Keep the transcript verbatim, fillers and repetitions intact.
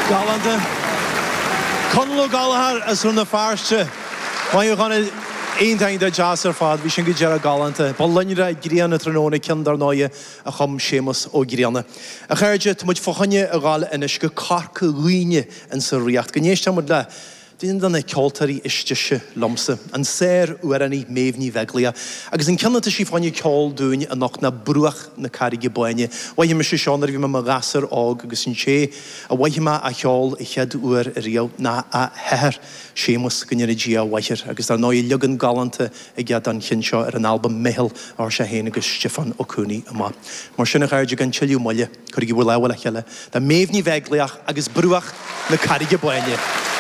Galánta. Conall Ó Gallchóir as Rann na Feirste. Maith thú a Chonaill. Iontach iontach deas ar fad. Bhí sin go deireadh galánta. Ba loinnre grian an tráthnóna ceann dar ndóighe a chum Séamus Ó Grianna. A chairde, tá muid fá choinne a ghabháil anois go Corca Dhuibhne insa Ríocht. Go n-éistfidh muid le duine de na ceoltóirí is deise liomsa, an sár-amhránaí Méabh Ní Bheaglaoich. Agus an ceann atá sí fá choinne ceol dúinn anocht ná Bruach na Carraige Báine. Mhothaigh mise seo nuair a bhí mé i mo ghasúr óg agus an té a mhothaigh mé á cheol an chéad uair ariamh ná a hathair, Séamus, go ndéana Dia a mhaith air. Agus dar ndóigh leagan galánta aige don cheann seo ar an albam Meitheal a chuir sé féin agus Stiofán Ó Cuanaigh amach. Mar sin a chairde, gan tuilleadh moille, cuirigí bhur lámha le chéile do Méabh Ní Bheaglaoich agus Bruach na Carraige Báine.